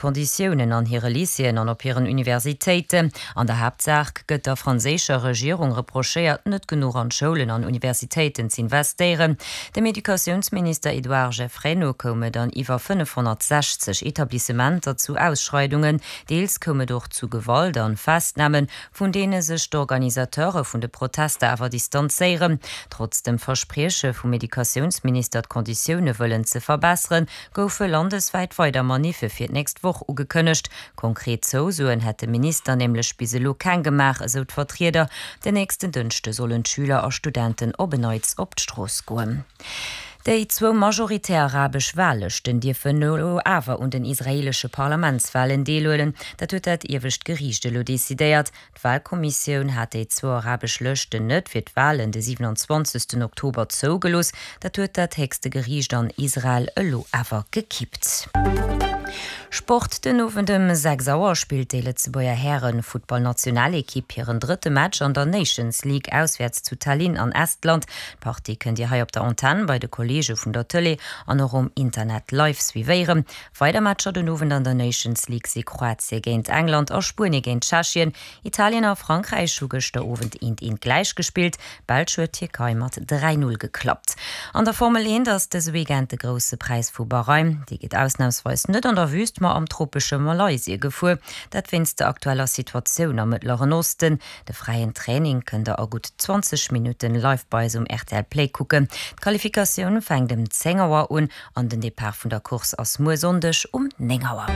Konditiounen an hire Lycéeën an op hiren Universitéiten. An der Haaptsaach gëtt der franséischer Regierung reprochéiert, net genuch an d'Schoulen an Universitéiten z'investéieren. Dem Educatiounsminister Edouard Geffray no koum et an iwwer 560 Etablissementer zu Ausschreidungen. Deels koum et och zu Gewalt an Festnamen, vun deene sech d'Organisateure vun de Protester awer distanzéieren. Trotz dem Versprieche vum Educatiounsminister, d'Konditioune wëllen ze verbesseren, goufe landeswäit weider Maniffe fir d'nächst Woch ugekënnegt. Konkret Zousoen hätt de Minister nämlech bis elo keng gemaach, esou d'Vertrieder. Den nächsten Dënschde sollen d'Schüler a Studenten op en Neits op d'Strooss goen. Déi zwou majoritär arabesch Wahllëschten dierfen elo awer un den israeelesche Parlamentswahlen deelhuelen. Dat huet dat iewescht Geriicht elo decidéiert. D'Wahlkommissioun hat déi zwou arabesch Lëschten net fir d'Wahlen de 27 Oktober zougelooss. Dat huet dat héchste Geriicht an Israel elo awer gekippt. Sport, Den Owend ëm 6 Auer spillt déi Lëtzebuerger Häre-Futtballnationalekipp hiren drëtte Match an der Nations League auswäerts zu Tallinn an Estland. D'Partie kënnt Dir hei op der Antenn bei de Kolleege vun der Tëlee an och um Internet live suivéieren. Weider Matcher den Owend an der Nations League si Kroatie géint England a Spuenie géint Tschechien. Italien a Frankräich hu gëschter Owend eent eent gläich gespillt. D'Belsch huet d'Tierkei mat 3, 0 geklappt. An der Formel 1 ass dëse Weekend de Grousse Präis vu Bahrain. Dee geet ausnamsweis net an der Wüüst, ma am tropesche Malaysie gefuer. Dat wéinst der aktueller Situatioun am Mëttleren Osten. De fräien Training kënnt der a gutt 20 Minutten live bei eis um rtl Play kucken. D'Qualifikatioun fänkt ëm 10 Auer un An den Depart vun der Course ass muer Sonndeg um 9 Auer.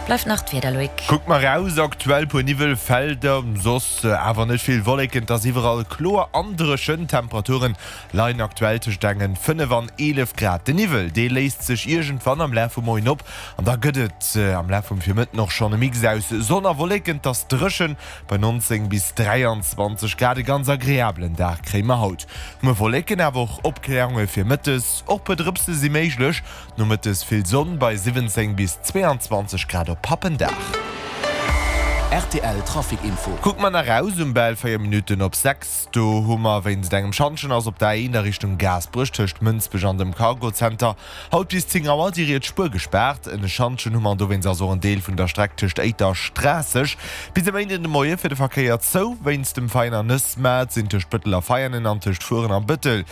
Bleift nach d'Wieder, Loïc. Kuckt mer raus, aktuell puer Niwwelfelder, soss awer net vill Wolleken, et ass iwwerall kloer an dréchen. D'Temperature leien aktuell tëscht engen 5 an 11 Grad. De Niwwel, dee léist sech iergendwann am Laf vum Moien op an da gëtt et am Laf vum Virmëtten och schonn e Mix aus Sonn a Wolleken. Et ass dréchen bei 19 bis 23 Grad. E ganz agreabelen Dag kréie mer haut. Muer Wolleken, awer och Opkläerunge fir mëttes, och puer Drëpse si méiglech. Nomëttes vill Sonn bei 17 bis 22 Grad op Pappendag. Rtl Trafic Info. Kucke mer nach raus, um bal 4 Minutten op 6, do hu mer wéinst engem Schantjen ass op der A1 a Richtung Gaasperech tëscht Mënsbech an dem Cargozenter Haut bis 10 Auer déi riets Spuer gespaart. En Schantjen hu mer an dowéinst ass och en Deel vun der Streck tëscht Éiter a Schraasseg bis e Méinden de Moie fir de Verkéier zou. Wéinst dem Veiner Nëssmaart sinn tëscht Bëttel a Veianen an tëscht Furen a Bëttel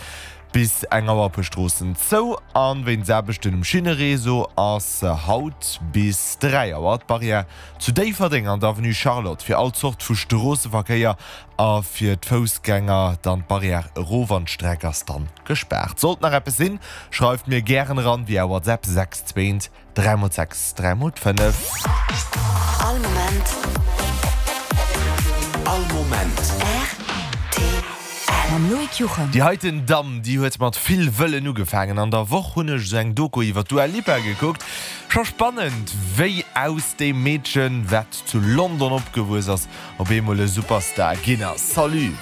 bis eng Auer e puer Stroossen zou. An wéinst Aarbechten um Schinnereseau ass haut bis 3 Auer d'Barrière zu Déifferdeng an der Avenue Charlotte fir all Zort vu Stroosseverkéier A fir d'Foussgänger dann d'Barrière erof an d'Streck ass dann gespaart. Sollt nach eppes sinn, schreift mir gären eran via WhatsApp 6 2 3 x 6 3 x 5. All Moment. All Moment. Rtl. Mam Loïc Juchem. Déi heiten Damm, déi huet mat vill Wëllen ugefaangen. An der Woch hunn ech esou eng Doku iwwer d'Dua Lipa gekuckt. Scho spannend, wéi aus deem Meedchen, wat zu London opgewuess ass, op eemol e Superstar ginn ass. Salut!